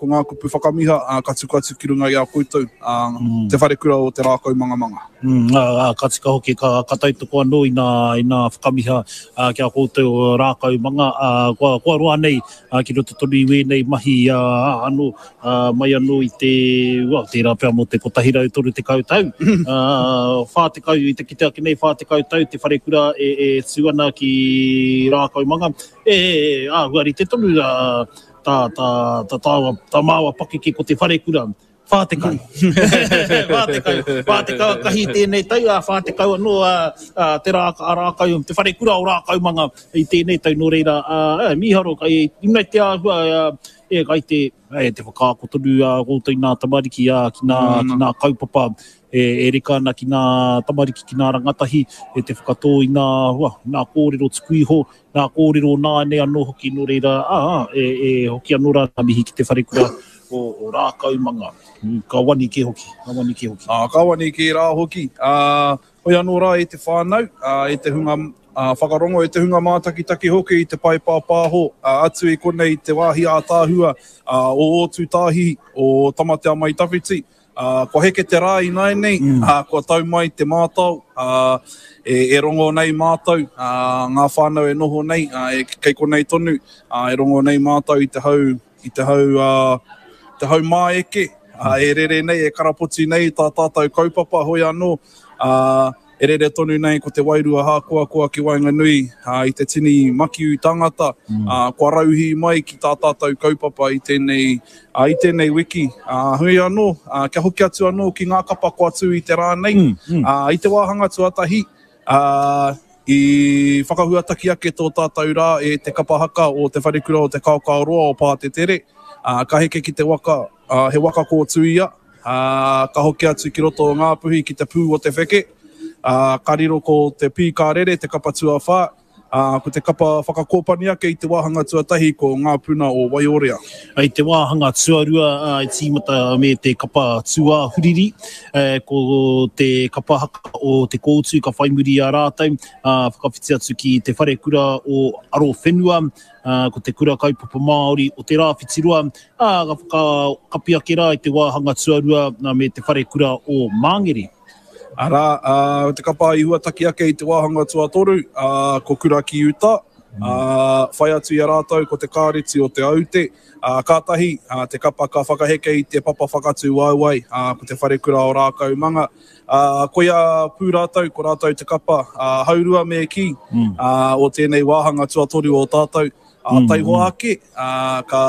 Ko ngā kupu whakamiha ka tuku atu ki runga i a koutou, Te Wharekura o Te Rākau Mangamanga. Ā, ka tika hoki, ka tautoko anō i ngā whakamiha ki a koutou o Rākau Manga, kua roa nei ki roto tonu i wēnei mahi anō, mai anō i te, well, tērā pea mō te 130 tau, 40, i te kite ake nei, 40 tau te wharekura e tū ana ki Rākau Manga, e āhua rite tonu Tā, tā, tā tāua, tā māua pakeke ko te wharekura, 40. 40, 40 a kahi tēnei tau, ā, 40 anō a, a te rā, a Rākau, te wharekura o Rākaumanga i tēnei tau, nō reira, ā, e, mīharo, kai, i runga i te āhua, ā, e, kai te, e, te whakaako tonu a koutou i nā tamariki, ā, ki nā, ki nā kaupapa e, e reka ana ki nā tamariki, ki nā rangatahi, e te whakatō i nā, hua, nā kōrero tuku iho, Ngā kōrero nāianei anō hoki, nō reira, ā, e, e hoki anō rā ngā mihi ki te wharekura o, o Rākaumanga. Ka wani kē hoki, ka wani kē hoki. Ā, ka wani kē rā hoki. Ā, hoi anō rā e te whānau, ā, e te hunga ā, whakarongo, e te hunga mātakitaki hoki i te pae pāpāho, ā, atu i konei i te wāhi ātaahua, ā, o Ōtūtāhihi, o Tamatea Mai Tawhiti, Ā, kua heke te rā ināianei, ā, kua tau mai te mātao, ā, e, e rongo nei mātou, ā, ngā whānau e noho nei, ā, e, kei konei tonu, ā, e rongo nei mātou i te hau, i te hau, ā, te hau māeke, ā, e rere nei, e karapoti nei tā tātou kaupapa, hoi anō, ā, E rere tonu nei ko te wairua hākoakoa ki waenganui i te tini makiu tangata kua rauhī mai ki tā tātou kaupapa i tēnei, i tēnei wiki. Heoi anō, kia hoki atu anō ki ngā kapa kua tū i te rā nei, i te wāhanga tuatahi, i whakahuataki ake tō tātou rā e te kapa haka o Te Wharekura o Te Kaokaoroa o Pātetere, ka heke ki te waka, he waka kōtuia, Ā, ka hoki atu ki roto o Ngāpuhi ki te pū o te wheke, ā, ka riro ko te pī ka rere te kapa tuawhā, ā, ko te kapa whakakōpani ake i te wāhanga tuatahi ko Ngā Puna o Waiorea. I te wāhanga tuarua, ā, i tīmata me te kapa tūāhuriri, ē, ko te kapa haka o Te Kōutu ka whai muri i a rātou, ā, whakawhiti atu ki te wharekura o Arowhenua, ā, ko te Kura Kaupapa Māori o Te Rāwhitiroa, ā, ka whakakapi ake rā i te wāhanga tuarua me te wharekura o Māngere. Arā, ā, te kapa i huataki ake i te wāhanga tuatoru, ā, ko Kura ki Uta, ā, whai atu i a rātou ko te Kāreti o Te Aute, ā, kātahi, ā, te kapa ka whakaheke i te papa whakatū waewae, ā, ko te wharekura o Rākaumanga, ā, koia pū rātou, ko rātou te kapa, ā, haurua me kī, ā, o tēnei wāhanga tuatoru o tātou. Ā, taihoa ake, ā, ka,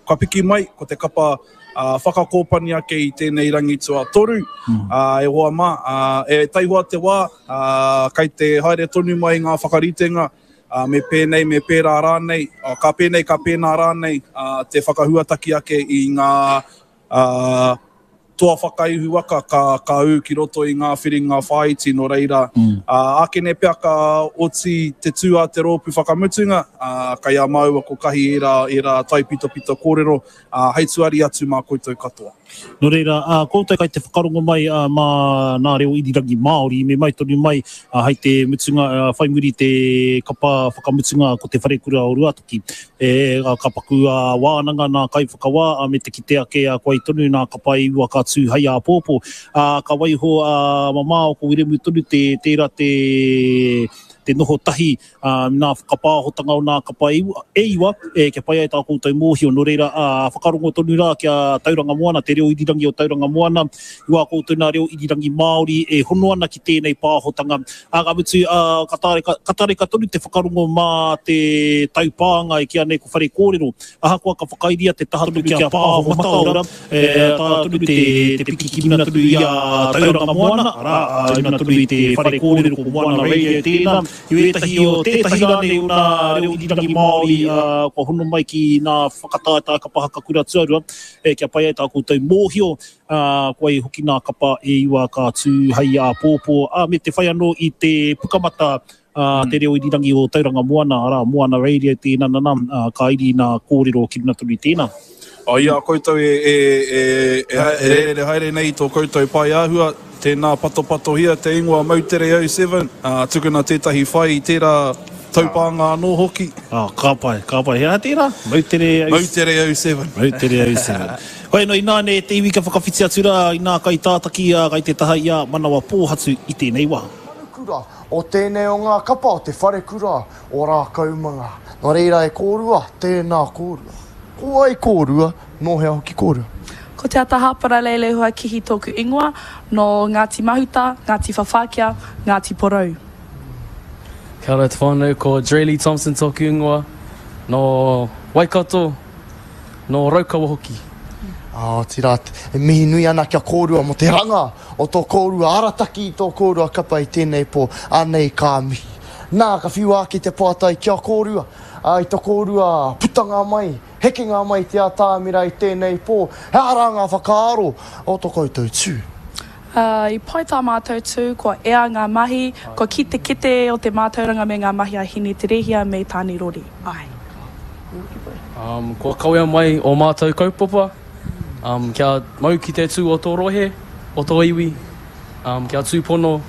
ka piki mai ko te kapa ā, whakakōpani ake i tēnei rangi tuatoru, ā, e hoa mā, ā, e taihoa te wā, ā, kei te haere tonu mai ngā whakaritenga, ā, me pēnei, me pērā rānei, ā, ka pēnei, ka pēnā rānei, ā, te whakahuataki ake i ngā, ā, toa whakaihu waka ka, ka ū ki roto i ngā whiringa whāiti, nō reira, ā, ākene pea ka oti te tū a te rōpū whakamutunga, ā, kei a māua ko Kahi ērā, ērā taipitopito kōrero, ā, hei tuari atu mā koutou katoa. Nō reira, ā, koutou kai te whakarongo mai, ā, mā nā reo irirangi Māori, me mai tonu mai, ā, hei te mutunga, ā, whai muri te kapa whakamutunga ko Te Wharekura o Ruatoki. E, ka paku a wānanga nā kaiwhakawā, a me te kite ake a koe tonu nā ka pae iwa ka tū hei āpōpō. Ā, ka waiho a mamao ko Wiremu tonu te, tērā te, te noho tahi ā, nā whakapāhotanga o nā kapa e iwa, e iwa, e, kia pai ai tā koutou mōhio. Nō reira, ā, whakarongo tonu rā ki a Tauranga Moana, te reo irirangi o Tauranga Moana, i wā koutou nā reo irirangi Māori e hono ana ki tēnei pāhotanga. Ā, ka mutu, ā, ka tareka, ka tareka tonu te whakarongo mā te taupānga e kīa nei ko Whare Kōrero. Ahakoa ka whakairia te taha tonu ki a Pāho Mataora, e taea tonu te, te piki ki runga tonu i a Tauranga Moana, arā, i runga tonu i te Whare Kōrero ko Moana Radio tēnā, i wētahi o, tētahi rānei o nā reo irirangi Māori, ā, kua hono mai ki nā whakataetae kapa haka kura tuarua, e, kia pai ai tā koutou mōhio, ā, ko wai hoki nā kapa e iwa ka tū hei āpōpō, ā, me te whai anō i te pukamata a te reo irirangi o Tauranga Moana, arā, Moana Radio tēnā, nana, ā, ka iri nā kōrero ki runga tonu i tēnā. Ā, i a koutou e, e, e, e, e rere haere nei i tō koutou pae āhua, tēnā patopatohia te ingoa Moutere 07, ā, tukuna tētahi whai i tērā. Taupānga anō hoki. Oh, ka pai, ka pai. He aha tērā? Moutere... Moutere 07. Moutere 07. Hoi anō, ināne e te iwi ka whakawhiti atu rā i nā kaitātaki ā, kai te taha i a Manawa Pōhatu i tēnei wā. Manukura o tēnei o ngā kapa o te wharekura o Rākaumanga. Nō reira e kōrua, tēnā kōrua. Ko wai kōrua, nō hea hoki kōrua? Ko Te Ata Hāpara Leilehua Kihi tōku ingoa, nō Ngāti Mahuta, Ngāti Whawhākea, Ngāti Porou. Kia ora te whānau, ko Draylee Thompson tōku ingoa, nō Waikato, nō Raukawa hoki. Otirā, e mihi nui ana ki a kōrua mō te ranga o tō kōrua arataki i tō kōrua kapa i tēnei pō, anei ka mihi. Nā, ka whiua ake te pātai ki a kōrua, i tō kōrua putanga mai, hekenga mai i te atamira i tēnei pō, he aha rā ngā whakaaro o tō koutou tū? Ā, i pai tā mātou tū, kua ea ngā mahi, kua kī te kete o te mātauranga me ngā mahi a Hine Te Rēhia me Tāne Rori. Āe. Kua kawea mai ō mātou kaupapa, kia mau ki te tū o tō rohe, o tō iwi, kia tūpono,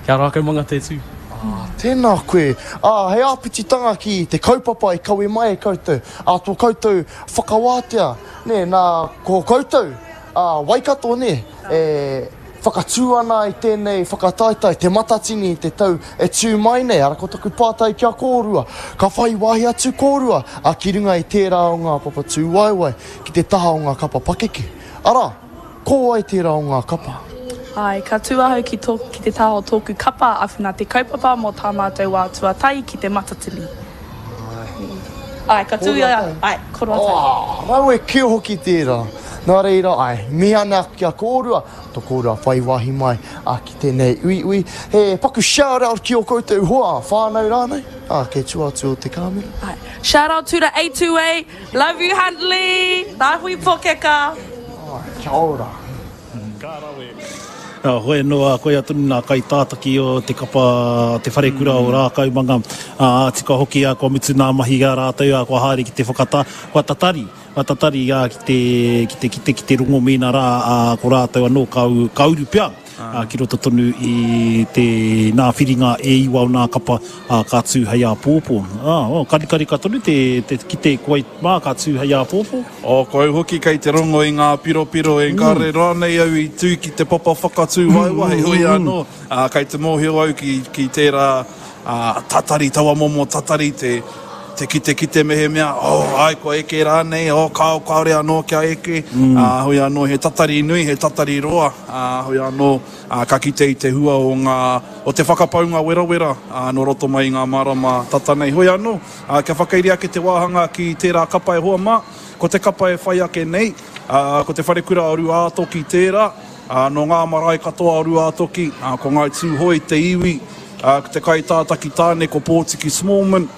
kia rākaumanga te tū. Ā, tēnā koe. Ā, hei āpititanga ki te kaupapa i kawe mai e koutou, ā, tō koutou whakawātea, nē, nā, ko koutou, ā, Waikato, nē, e whakatū ana i tēnei whakataetae, Te Matatini i te tau e tū mai nei, ara ko taku pātai ki a kōrua, ka whai wāhi atu kōrua a ki runga i tērā o ngā papa tūwaewae ki te taha o ngā kapa pakeke, arā, ko wai tērā o ngā kapa? Āe, ka tū ahau ki tō, ki te taha o tōku kapa Awhina Te Kaupapa mō tā mātou wā tuatahi ki Te Matatini. Āe, ka tū i a ia, āe, ko Roa Tai. Oh, rawe kē hoki tērā. Nā reira, āe, mihi ana ki a kōrua, tō kōrua whai wāhi mai ki tēnei uiui. He paku shout out ki ō koutou hoa, whānau rānei, ā, kei tua atu o te kāmera. Āe, shout out to the A2A, love you Huntley, Rāhui Pokeka. Āe, kia ora. Ka rawe. Hoi anō, koia tonu nā kaitātaki o te kapa Te Wharekura o Rākaumanga, ā, tika hoki, kua mutu nā mahi a rātou, kua haere ki te whakatā, kua tatari, kua tatari ki te, ki te kite, ki te rongo mēnā rā, ā, ko rātou anō ka, ka uru pea ki roto tonu i te, nā whiringa e iwa o nā kapa, ā, ka tū hei āpōpō. Ā, oh, karikarika tonu te, te kite ko wai mā ka tū hei āpōpō. Oh, ko au hoki kei te rongo i ngā piropiro engari rānei au i tū ki te papa whakatū waewae, heoi anō, ā, kei te mōhio au ki, ki tērā, ā, tatari, taua momo tatari te, te kitekite mehemea, oh, āe kua eke rānei, oh, kāo, kāore anō kia eke, ā, heoi anō, he tatari nui, he tatari roa, ā, heoi anō, ā, ka kite i te hua o ngā, o te whakapaunga werawera, ā, nō roto mai i ngā marama tata nei. Heoi anō, ā, kia whakairi ake te wāhanga ki tērā kapa e hoa mā, ko te kapa e whai ake nei, ā, ko Te Wharekura o Rūātoki tērā, ā, nō ngā marae katoa o Rūātoki, ā, ko Ngāi Tūhoe te iwi, ā, ko te kaitātaki tāne ko Pōtiki Smallman,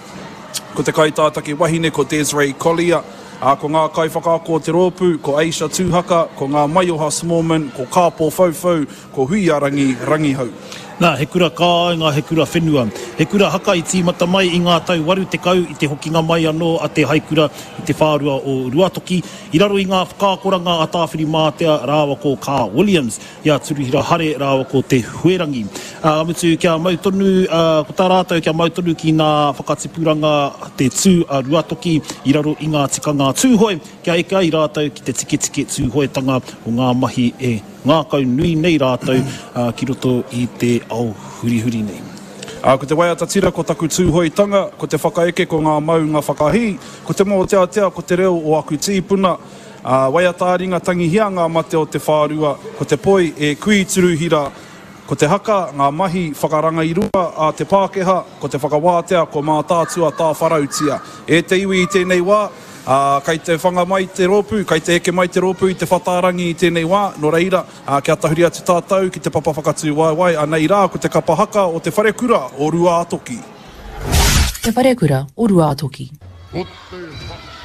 ko te kaitātaki wahine ko Desiree Collier, ā, ko ngā kaiwhakaako o te rōpū, ko Aisha Tūhaka, ko Ngā Maioha Smallman, ko Kāpō Whauwhau, ko Huiarangi Rangihau. Nā, he kura kāinga, he kura whenua. He kura haka i tīmata mai i ngā tau 80 i te hokinga mai anō a Te Haikura i te whārua o Ruatoki, i raro i ngā whakaakoranga a Tāwhirimātea rāua ko Kaa Williams, i a Turuhira Hare rāua ko Te Huerangi. Ā, mutu kia mau tonu, ā, ko tā rātou kia mau tonu ki ngā whakatipuranga te tū a Ruatoki i raro i ngā tikanga Tūhoe, kia eke ai rātou ki te tiketike Tūhoetanga o ngā mahi e ngākau nui nei rātou ki roto i te ao hurihuri nei. Ā, ko te waiata tira ko taku Tūhoetanga, ko te whakaeke ko ngā maunga whakahī, ko te mōteatea ko te reo o aku tīpuna, ā, waiata-ā-ringa tangihia ngā mate o te whārua, ko te poi e kui turuhira, ko te haka ngā mahi whakarangairua a te Pākehā, ko te whakawātea ko Mātaatua tāwharautia e te iwi i tēnei wā. Ā, kei te whanga mai te rōpū, kei te eke mai te rōpū i te whatārangi i tēnei wā, nō reira, ā, kia tahuri atu tātou ki te papa whakatū waewae, anei rā ko te kapa haka o Te Wharekura o Ruātoki. Te Wharekura o Ruātoki. Ko te haka.